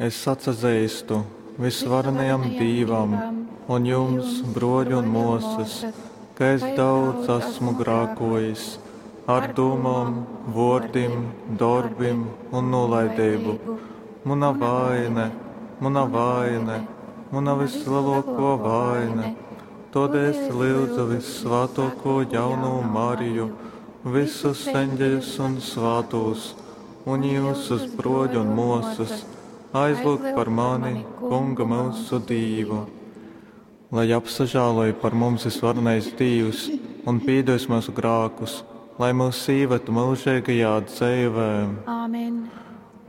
Es atsazeistu visvarenajam Dīvam un jums, bruoļi un muosys, ka es daudz asmu grākuojis ar dūmom, vuordim, dorbim un nūlaideibu. Muna vaine, muna vaine, muna visleluokuo vaine. Todēļ es lyudzu Vissvātuokū Jaunū Mariju, visus eņģeļus un svātūs, un jiusus, bruoļi un muosys, aizlyugt par mani Kungu myusu Dīvu. Lai apsažāloj par mums visvarenais Dīvs un pīdos myusu grākus, lai mūs īved myužeigajā dzeivē. Āmen.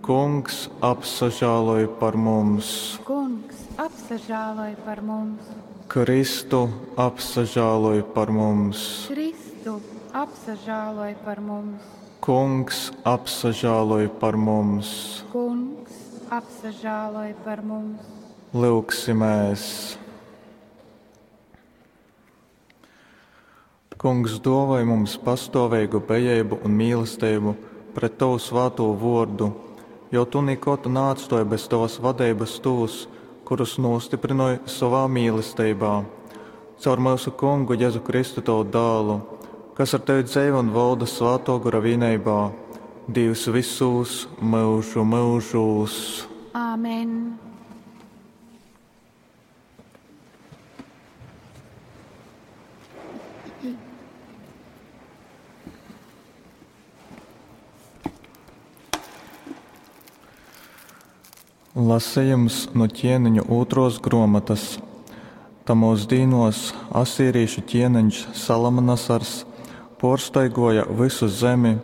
Kungs apsažāloj par mums. Kungs apsažāloj par mums. Kristu apsažāloj par mums. Kristu apsažāloj par mums. Kungs apsažāloj par mums. Kungs apsažāloj par mums. Lyugsimēs! Kungs dāvāj mums pastāvīgu bejeibu un mīlestību pret Tavu svāto vārdu, jo Tu nekad neatstāji bez Tavas vadeibas tos, kurus nostiprināji savā mīlestībā. Caur mūsu Kungu Jēzu Kristu Tavu dēlu, kas ar Tevi dzīvo un valda Svāto Gora vienībā, Dievs visos mūžu mūžos. Āmen. Lasījums no ķieniņu otros gruomatas. Tamos dīnos asīrīšu ķieniņš Salamanasars porstaigoja visu zemi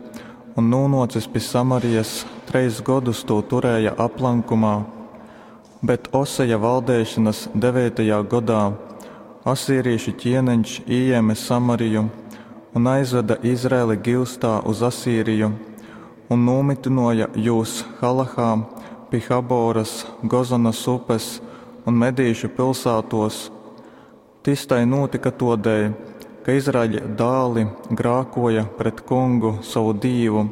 un nūnocis pi Samarijas treis godus tū turēja aplankumā. Bet Oseja valdēšanas 9. godā asīrīšu ķieniņš ījēma Samariju un aizveda Izraeli gilstā uz Asīriju un nomitinoja jūs Halahā pi Haboras, Gozanas upes un Medīšu pilsētos. Tis tai notika todēļ, ka Izraeļa dāli grākoja pret kungu savu dīvu,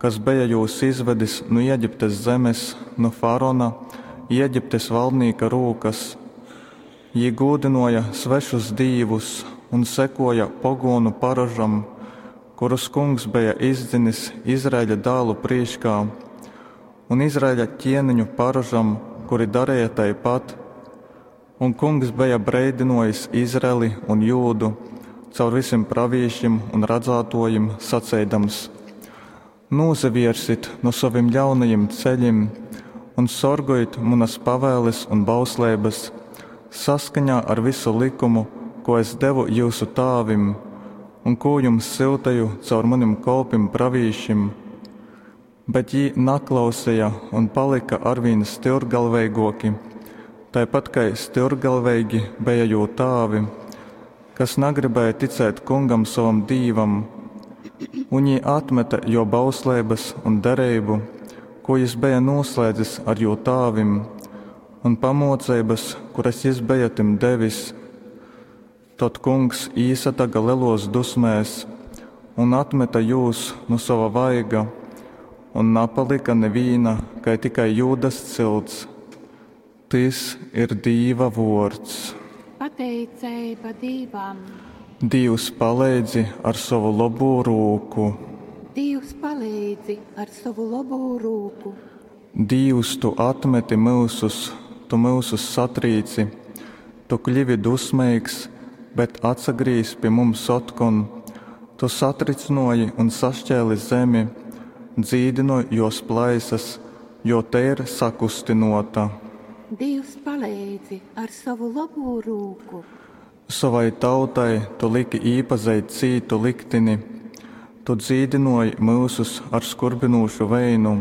kas beja jūs izvedis no Ēģiptes zemes, no Farona, Ēģiptes valdnieka rūkas. Jī gūdinoja svešus dīvus un sekoja pogonu paražam, kurus kungs beja izdzinis Izraeļa dālu prīškā, un Izraeļa ķieniņu paražam, kuri darīja taipat. Un kungs beja breidinojis Izraeli un Jūdu caur visiem pravīšiem un radzātojiem, saceidams: Nūsaviersit no saviem ļaunajiem ceļiem un sorgojit manas pavēles un bauslības saskaņā ar visu likumu, ko es devu jūsu tāvim un ko jums siltēju caur maniem kolpim pravīšim. Bet jī naklausīja un palika arvien stilrgalveigāki, tāpat kā stilrgalveigi bija jū tāvi, kas negribēja ticēt kungam savam dīvam, un jī atmeta jo bauslības un derību, ko jis bija noslēdzis ar jū tāvim, un pamocības, kuras jis bija tim devis. Tad kungs īsataga lielos dusmēs un atmeta jūs no sava vaiga, un napalika nevīna, kai tikai Jūdas cilts. Tis ir Dīva vords. Pateiceiba Dīvam. Dievs paleidzi ar savu labo rūku. Dievs palīdzi ar savu labo rūku. Dievs, tu atmeti mūsus, tu mūsus satrīci, tu kļuvi dusmīgs, bet atsagrīz pie mums otkon. Tu satricinoji un sašķēli zemi, dzīdinoji jos plaisas, jo te ir sakustinota. Dievs palīdzi ar savu labo rūku. Savai tautai tu liki īpazeit cītu liktini, tu dzīdinoji mūsus ar skurbinošu veinu.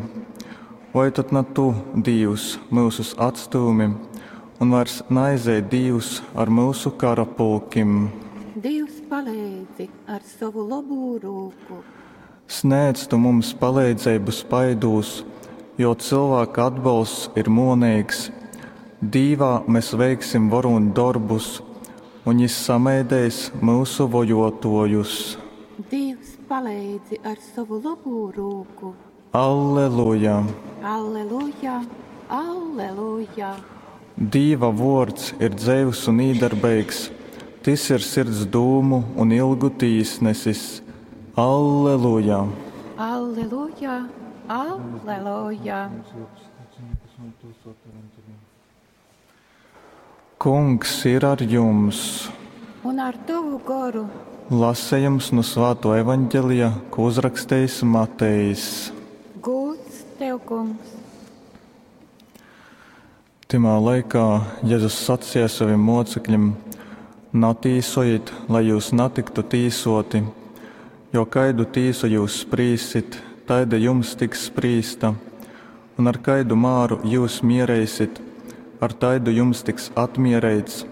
Vai tad ne tu, Dievs, mūsus atstūmi un vairs naizej Dievs ar mūsu kara pulkim? Dievs palīdzi ar savu labo rūku. Sniedz tu mums palīdzību spaidūs, jo cilvēka atbalsts ir monīgs. Dīvā mēs veiksim varūnu darbus, un jis sameidēs mūsu vojotojus. Dievs palīdzi ar savu labo rūku. Alleluja! Alleluja! Alleluja! Dīva vōrds ir dzeivs un īdarbeigs, tys ir sirds dūmu un ilgu tīsnesis. Alleluja! Alleluja! Alleluja! Kungs ir ar jums! Un ar tovu goru! Lasejums nu Svātō Evaņgelija, ko uzrakstejis Matejs. Gūds tev, Kungs! Tymā laikā Jezus saceja sovim mōcekļim: Natīsojit, lai jyus natyktu tīsōti, jo kaidu tīsu jyus sprīssit, taida jums tiks sprīsta, un ar kaidu māru jyus miereisit, ar taidu jums tiks atmiereits.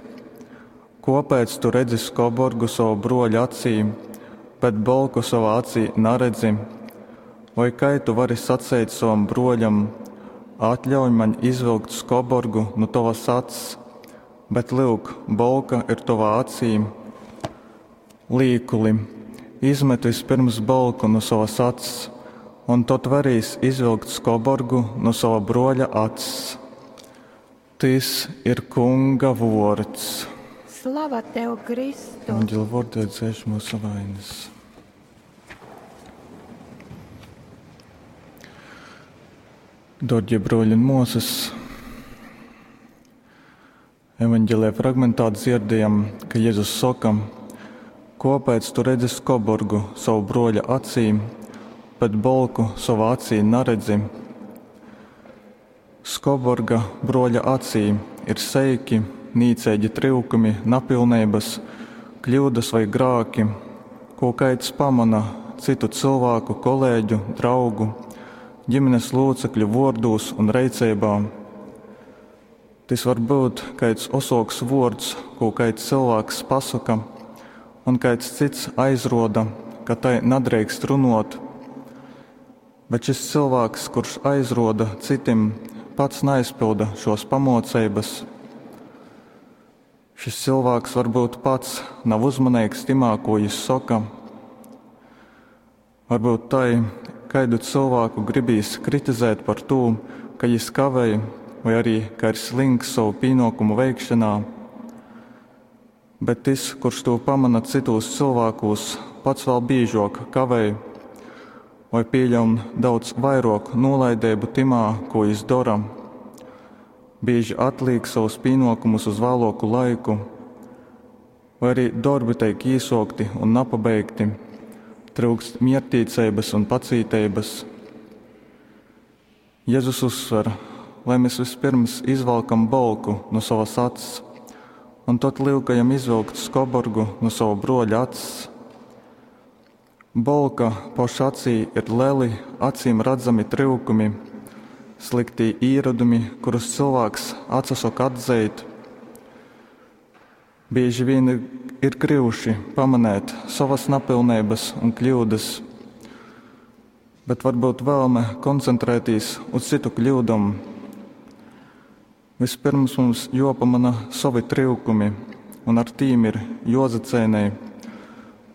Kōpēc tu redzi skoborgu sova brōļa acī, bet bolku sovā acī naredzi? Voi kai tu vari saceit sovam brōļam, Atļauj maņ izvilkt skoborgu nu tovas acs, bet, lyuk, bolka ir tovā acī? Līkuli, izmet vispyrms bolku nu sovas acs, un tod verīs izvilkt skoborgu nu sova brōļa acs. Tys ir Kunga vōrds. Slava tev, Kristu! Evaņģeļa vōrdē dzēš mūsu vainas. Dārgie brōļi un māsas, Evaņģelijā fragmentā dzirdējam, ka Jēzus soka, Kāpēc tu redzi skoborgu savu brōļa acī, bet bolku sovā acī naredzi? Skoborga brōļa acī ir seiki, nīceigi tryukumi, napilneibas, kļūdas vai grāki, ko kaids pamana citu cilvēku, kolēģu, draugu, ģimenes locekļu vōrdūs un reiceibā. Tys var būt kaids osoks vōrds, ko kaids cilvēks pasaka, un kaids cits aizroda, ka tai nadreikst runot. Bet šis cilvēks, kurš aizroda citim, pats neaizpilda šos pamōceibas. Šis cilvēks varbūt pats nav uzmanīgs timā, ko jis soka. Varbūt tai, kaidu cilvēku gribīs kritizēt par tū, ka jis kavēj vai arī, ka ir slinks savu pienākumu veikšanā. Bet tis, kurš to pamana citūs cilvēkūs, pats vēl bīžok kavēj vai pieļaun daudz vairāk nolaidību timā, ko jis dora. Bieži atliek savus pienākumus uz vēlāku laiku, vai arī darbi tiek īsokti un napabeigti, trūkst miertīceibas un pacīteibas. Jēzus uzsver, lai mēs vispirms izvalkam bolku no savas acs, un tad lyukajam izvilkt skoborgu no sava broļa acs. Bolka poša acī ir leli, acīm redzami tryukumi, sliktī īradumi, kurus cilvēks atsasoka atzeit. Bieži vien ir gryuši pamanēt savas napilneibas un kļūdas, bet varbūt vēlme koncentrēties uz citu kļūdom. Vispirms mums jopamana savi tryukumi, un ar tīm ir jozacēnei,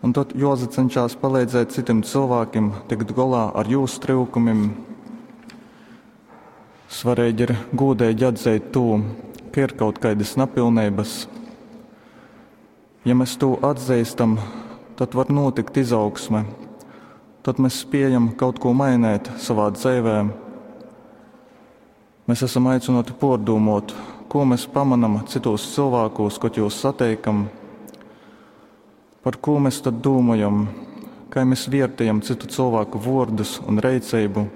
un tad jozacenšās palīdzēt citim cilvēkiem tikt golā ar jūsu tryukumim. Svarīgi ir gūdīgi atzeit to, ka ir kaut kādas napilneibas. Ja mēs to atzīstam, tad var notikt izaugsme, tad mēs spējam kaut ko mainīt savā dzīvē. Mēs esam aicināti pārdomot, ko mēs pamanam citos cilvēkos, kad jūs sateikam, par ko mēs tad domājam, kā mēs vērtējam citu cilvēku vārdus un reicību.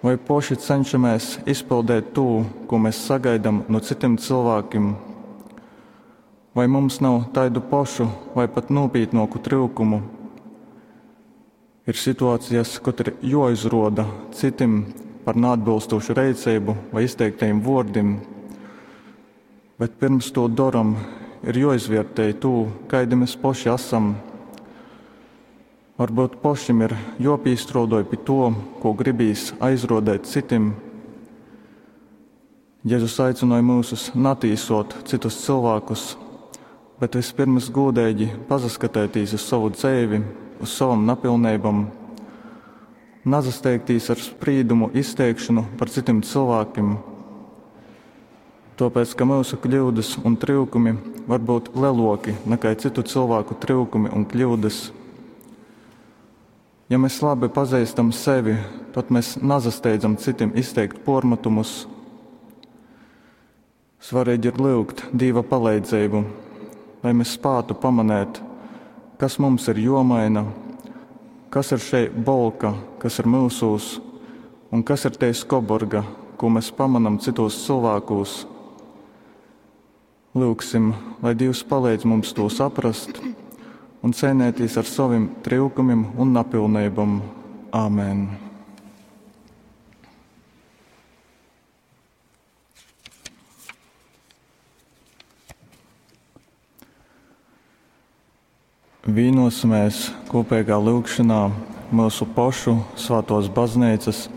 Vai poši cenšamies izpildīt to, ko mēs sagaidām no citiem cilvēkiem? Vai mums nav taidu pašu vai pat nopietnāku trūkumu? Ir situācijas, kad ir jāizroda citim par neatbilstošu reicību vai izteiktajiem vārdiem, bet pirms to daram, ir jāizvērtē to, kaidi mēs paši esam. Varbūt pašim ir jāpīstrodoj pie to, ko gribīs aizrodēt citim. Jēzus aicināja mūsus natīsot citus cilvēkus, bet vispirms gūdīgi pasaskatētīs uz savu dzēvi, uz savam napilnībam. Nazasteigtīs ar sprīdumu izteikšonu par cytim cylvākim, tōpēc ka myusu kļyudas un tryukumi var byut lelōki nakai cytu cylvāku tryukumi un kļyudas. Ja mes labi pazeistam sevi, tod mes nasasteidzam cytim izteikt pōrmatumus. Svareigi ir lyugt Dīva paleidzeibu, lai mes spātu pamanēt, kas mums ir jōmaina, kas ir šei bolka, kas ir myusūs, un kas ir tei skoborga, kū mes pamanam cytūs cylvākūs. Lyugsim, lai Dīvs paleidz mums tū saprast un ceinētīs ar sovim tryukumim un napilneibom. Āmen. Vīnosimies kopīgā lyugšanā myusu pošu svātōs bazneicas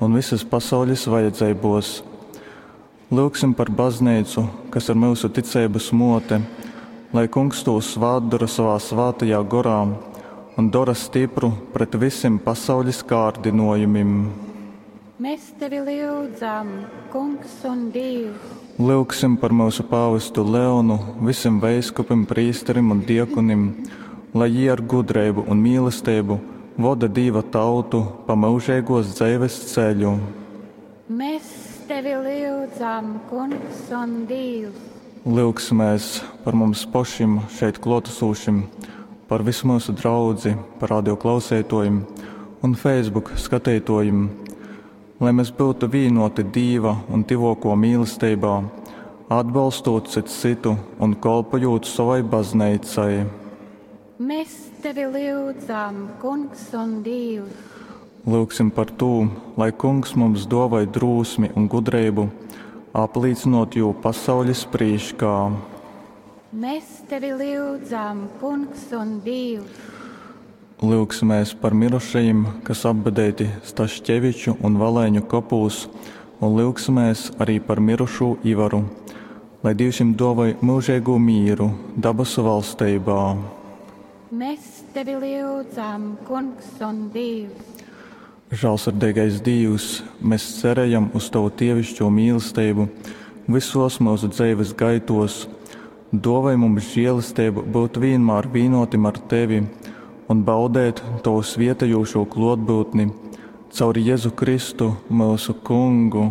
un visas pasaules vajadzeibos. Lyugsim par bazneicu, kas ir myusu ticeibas mote, lai Kungs tū svātdora savā svātajā gorā un dora stipru pret visim pasaules kārdinojumim. Mēs tevi lyudzam, Kungs un Dievs. Lyugsim par myusu pāvestu Leonu, visim veiskupim, prīsterim un diakonim, lai jī ar gudreibu un mīlesteibu voda Dīva tautu pa myužeigōs dzeives ceļu. Mēs tevi lyudzam, Kungs un Dievs. Lyugsimēs par mums pošim šeit klōtasūšim, par visu myusu draudzi, par radio klauseitōjim un Facebook skateitōjim, lai mēs būtu vīnoti Dīva un tyvōkō mīlesteibā, atbalstūt cyts cytu un kolpojūt savai bazneicai. Mēs tevi lyudzam, Kungs un Dievs. Lyugsim par tū, lai Kungs mums dōvoj drūsmi un gudreibu, aplīcynot jū pasaules prīškā. Mēs tevi lyudzam, Kungs un Dievs. Lyugsimēs par mirušajim, kas apbedeiti Staškeviču un Valaiņu kopūs, un lyugsimēs arī par mirušū Ivaru, lai Dievs viņam dōvoj mūžīgo mīru dabasu valsteibā. Mēs tevi lyudzam, Kungs un Dievs. Žālsirdīgais Dievs, mēs cerējam uz Tavu dievišķo mīlestību visos mūsu dzīves gaitos. Dāvāj mums žēlastību būt vienmēr vienotim ar Tevi un baudēt Tavu svietējošo klātbūtni caur Jēzu Kristu, mūsu Kungu.